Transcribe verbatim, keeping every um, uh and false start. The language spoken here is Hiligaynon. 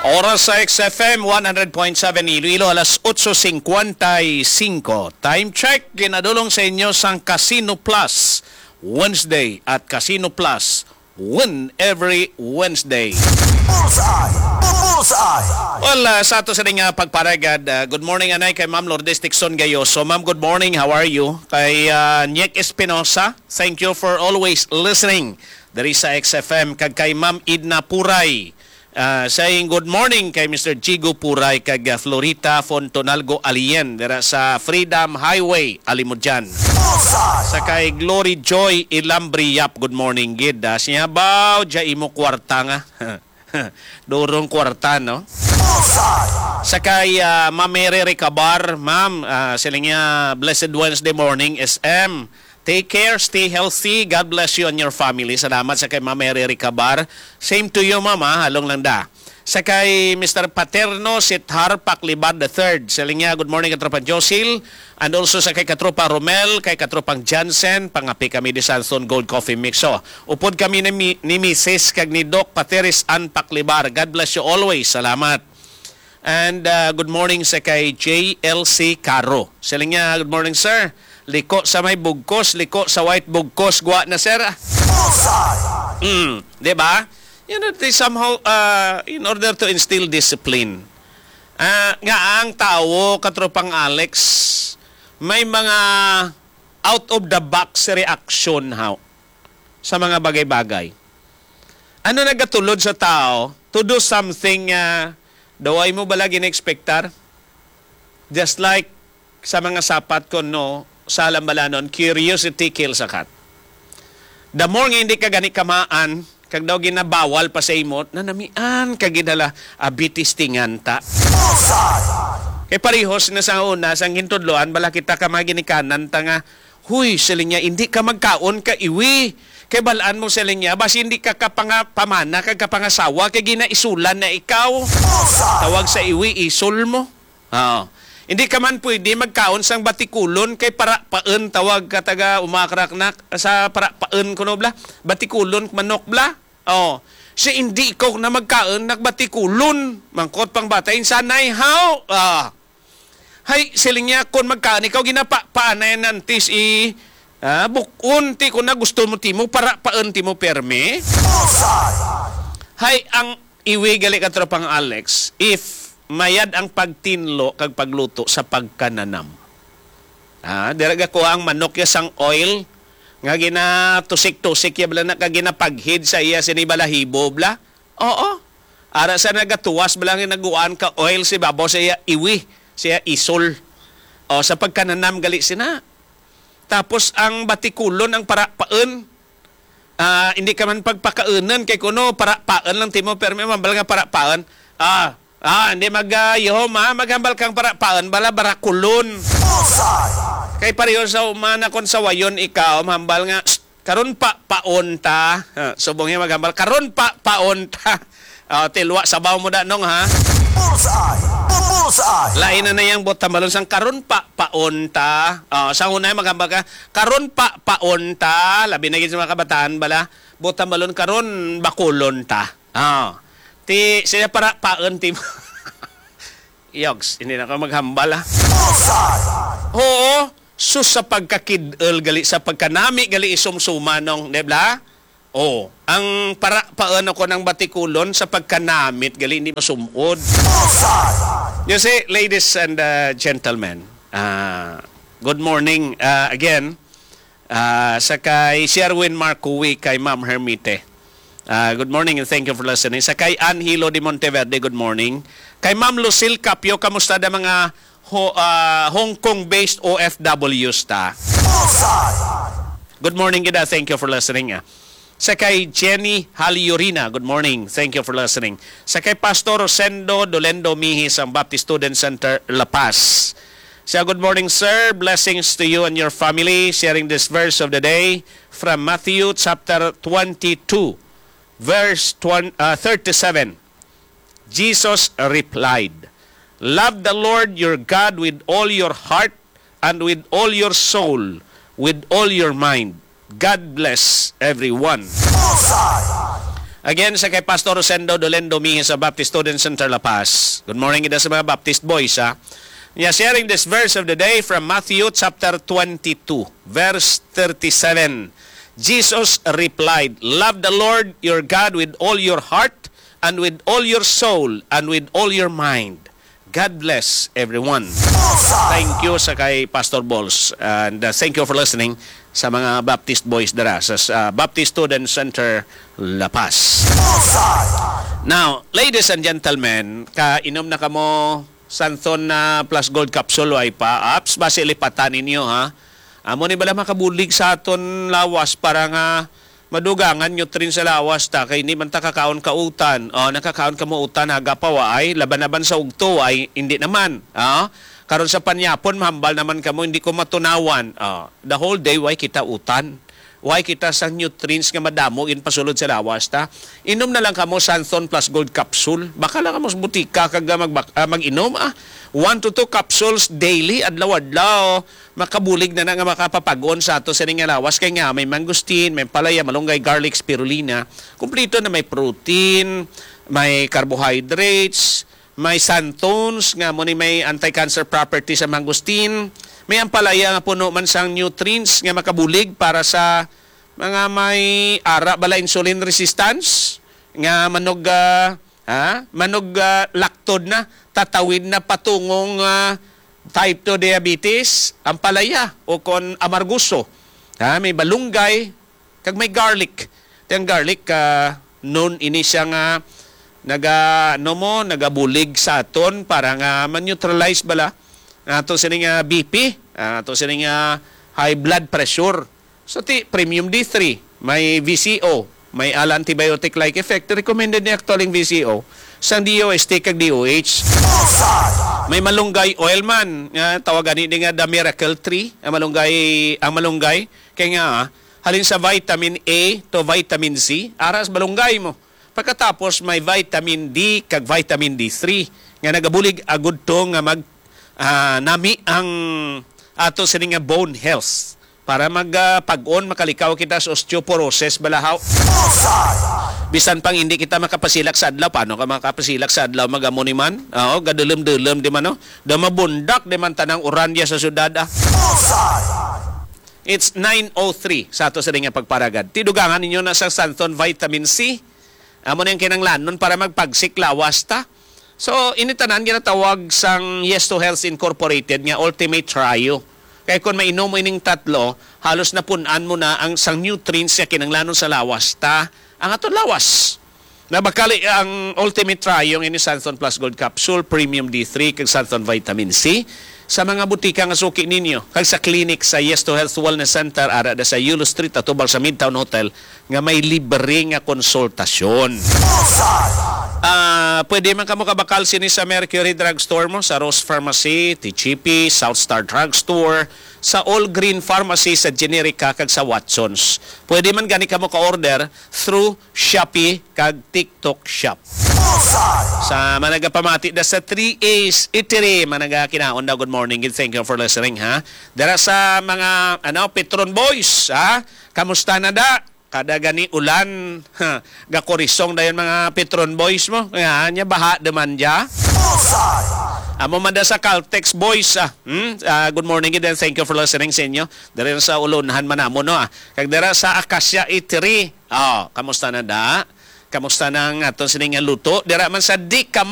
Oras sa X F M one hundred point seven Iloilo, alas otso cincuenta y cinco. Time check, ginadulong sa inyo sang Casino Plus Wednesday at Casino Plus Win every Wednesday. Bullseye! Bullseye! Well, ah, sa ato sa ning, ah, pagparagad, ah, good morning, anay, kay Ma'am Lourdes Tixon Gayoso. Ma'am, good morning. How are you? Kay, ah, Nick Espinosa, thank you for always listening diri sa X F M. Kag kay Ma'am Edna Puray, ah, saying good morning kay Mister Jigo Puray kag, ah, Florita Fontonalgo Alien dira sa Freedom Highway, Alimodian. Bullseye! Sa kay Glory Joy Ilambriap, good morning gid. Ah, siya baw, dya imo kwarta nga. Durong kwarta, no? Bullseye! Sa kay, ah, Ma'am Mary Recabar, ma'am, ah, sila niya, blessed Wednesday morning, S M. Take care, stay healthy. God bless you and your family. Salamat sa kay Ma'am Mary Recabar. Same to you, ma'am, ah. Halong lang da. Sa kay Mister Paterno Sithar Paclibar the third. Sa linya, good morning, Katropa Josil. And also sa kay Katropa Romel, kay Katropang Jansen, pangapi kami di Sanson Gold Coffee Mix. So, upod kami ni, mi- ni Misis kag ni Doc Pateris Ann Paclibar. God bless you always. Salamat. And, uh, good morning sa kay J L C Caro. Sa linya, good morning, sir. Liko sa may bugkos, liko sa white bugkos, gwa na, sir. Bullseye! Mm, di ba? You know, they somehow, uh, in order to instill discipline, ah, nga ang tawo, Katropang Alex, may mga out of the box reaction, how, sa mga bagay-bagay. Ano nagatulod sa tao to do something nga daw ay mo bala gina-expectar? Just like sa mga sapat ko, no, sa lambalanon, curiosity kills a cat. The more nga hindi ka gani kamaan, kag daw ginabawal pa sa imo, nanamian ka gid hala, abi, testingan ta. Bullseye! Kay parehos na sa una, sang gintudloan, bala kita ka mga ginikanan ta nga, "Huy," siling niya, "hindi ka magkaon ka iwi. Kay balaan mo," siling niya, "basi hindi ka kapanga-, pamana kag kapangasawa, kay ginaisulan na ikaw." Bullseye! Tawag sa iwi, isol mo. Oo. Hindi ka man pwede magkaon sang batikulon kay parapaen, tawag ka taga Umakrak na sa parapaen kuno bla. Batikulon manok bla. Oh, si hindi ko na magkaon nagbatikulon. Mangkot pang bata, insanay, how? Ah. Hay, siling niya, kung magkaon ikaw, ginapa-, paanay nantis i, ah, bukon, ti ko na gusto mo timo, parapaen timo perme. Bullseye! Hay, ang iwi gali, Katropang Alex, if mayad ang pagtinlo kag pagluto sa pagkananam. Ah, dira gakuha ang manok ya sang oil nga ginatusik-tusik ya bala na kag ginapaghid sa iya sini balahibo bla. Oo. Ara sa nagatuwas bala nga naguan ka oil si babaw sa iya iwi, sa iya isol. O, sa pagkananam gali sina. Tapos ang batikulon ang parapaen. Ah, hindi ka man pagpakaunan kay kuno parapaen lang timo, pero may mambal nga parapaen. Ah, ah, hindi mag, ah, yuhom, ah, maghambal kang parapaen, bala barakulon. Bullseye! Kay pareho sa umana kon sawayon ikaw, mambal nga, "Shh, karon pa paon ta." Ah, subong niya maghambal, "Karon pa paon ta." Ah, tilwa sabaw mo da, nong, ha? Bullseye! Bullseye! Lain na na yang bot tambalon sang karon pa paon ta. Ah, sa una maghambal ka, "Karon pa paon ta." Labi na gid sa mga kabataan bala. Bot tambalon, "Karon bakulon ta." Ah. Ti, siya para paon ti mo. Yogs, hindi na ka maghambal, ah. Bullseye! Oo, sus, sa pagkakid-el gali, sa pagkanami gali isumsumanong, di ba? Oh, ang para paano ko ng batikulon sa pagkanamit gali hindi masumod. Bullseye! You see, ladies and, uh, gentlemen, uh, good morning, uh, again. Ah, sa kay Sherwin Marcui, kay Ma'am Hermite. Ah, good morning and thank you for listening. Sa kay Angelo de Monteverde, good morning. Kay Ma'am Lucille Capio, kamusta da mga Ho-, ah, Hong Kong-based O F Ws ta? Bullseye! Good morning, gida. Thank you for listening, ah. Sa kay Jenny Haliorina, good morning. Thank you for listening. Sa kay Pastor Rosendo Dolendo Mihis, ang Baptist Student Center, La Paz. Siya, "Good morning, sir. Blessings to you and your family. Sharing this verse of the day from Matthew chapter twenty-two, verse twen-, uh, thirty-seven." Jesus replied, "Love the Lord your God with all your heart and with all your soul, with all your mind." God bless everyone. Bullseye! Again, sa kay Pastor Rosendo Dolendo Mihis sa Baptist Student Center La Paz. Good morning, ida sa mga Baptist boys, ha? Yeah, sharing this verse of the day from Matthew chapter twenty-two, verse thirty-seven. Jesus replied, "Love the Lord your God with all your heart, and with all your soul, and with all your mind." God bless everyone. Thank you sa kay Pastor Balls, and, uh, thank you for listening sa mga Baptist boys dira sa, sa Baptist Student Center La Paz. Now, ladies and gentlemen, kainom na kamo Santhon na Plus Gold Capsule, way pa? Apps, basi lipatan ninyo, ha? Amo ni bala makabulig sa aton lawas para nga madugangan nutrients sa lawas ta, kay hindi man ta kakaon ka utan. O, nakakaon ka mo utan, aga pa, waay, laban-laban sa ugto, ay hindi naman. Ah, karon sa panyapon, mahambal naman kamo, hindi ko matunawan. Ah, the whole day, way kita utan. Way kita sang nutrients nga madamo ginpasulod sa lawas ta. Inom na lang kamo Santhon Plus Gold Capsule. Baka lang kamo sa butika kag, ah, magbak-, ah, mag-inom, ah. One to two capsules daily, adlaw-adlaw. Makabulig na na nga makapapag-on sa ato sini nga lawas, kay nga may mangosteen, may palaya, malunggay, garlic, spirulina. Kumplito na, may protein, may carbohydrates, may xanthones nga mo ni may anti-cancer property sa mangosteen, may ampalaya nga puno man sang nutrients nga makabulig para sa mga may ara bala insulin resistance, nga manog, ah, ha? Manog, ah, laktod na, tatawid na patungong, ah, type two diabetes, ampalaya o kon amargoso. Ha? May balunggay, kag may garlic. Ti ang garlic, ah, known ini siya nga naga, ano mo, nagabulig sa aton para nga ma-neutralize bala ato sini nga B P, ato sini nga high blood pressure. So, ti premium D three, may V C O, may ala antibiotic-like effect, recommended ni actually ang V C O sang D O S T kag D O H. May malunggay oil man, nga tawag ani nga the miracle tree, ang malunggay, ang malunggay, kay nga, ah, halin sa vitamin A to vitamin C, ara sa malunggay mo. Pagkatapos, may vitamin D kag vitamin D three nga nagabulig agud to nga mag, ah, nami ang ato sini nga bone health. Para mag, ah, pag-on, makalikaw kita sa osteoporosis, balahaw. Bisan pang hindi kita makapasilak sa adlaw, paano ka makapasilak sa adlaw? Magamo ni man? Oo, gadulom-dulom di man, no? Da mabundak di man tanang uranya sa syudad, ah. It's nine oh three sa ato sini nga pagparagad. Ti dugangan ninyo na sang Santhon Vitamin C. Amo na ang kinanglanon para magpagsik lawas ta. So, ini tanan ginatawag sang Yes to Health Incorporated nga Ultimate Trio. Kay kung mainom mo ining tatlo, halos napun-an mo na ang sang nutrients nga kinanglanon sa lawas ta, ang aton lawas. Nabakali ang Ultimate Trio nga ini Santhon Plus Gold Capsule, Premium D three, kag Santhon Vitamin C sa mga butika nga suki ninyo, kag sa clinic sa Yes to Health Wellness Center, ara da sa Yulo Street, atubang sa Midtown Hotel, nga may libre nga konsultasyon. Ah, pwede man kamo kabakal sini sa Mercury Drugstore mo, sa Rose Pharmacy, T G P, South Star Drugstore, sa All Green Pharmacy, sa Generica, kag sa Watsons. Pwede man gani kamo ka-order through Shopee kag TikTok Shop. Sa managapamati da sa three A's Eatery, managakinaon daw, good morning, and thank you for listening, ha. Dara sa mga, ano, Petron Boys, ha. Kamusta na da? Kada gani ulan, ha, gakurisong dayon mga Petron Boys mo. Nga, nya baha naman dya. Amo man da sa Caltex Boys, ah. Hmm? Ah, good morning, and thank you for listening sa inyo. Diri sa Ulonhan man namo, no, ah. Kag dira sa Acacia Eatery. Oh, kamusta na da? Kamusta na ang aton sini nga luto? Dira man sa Di Ka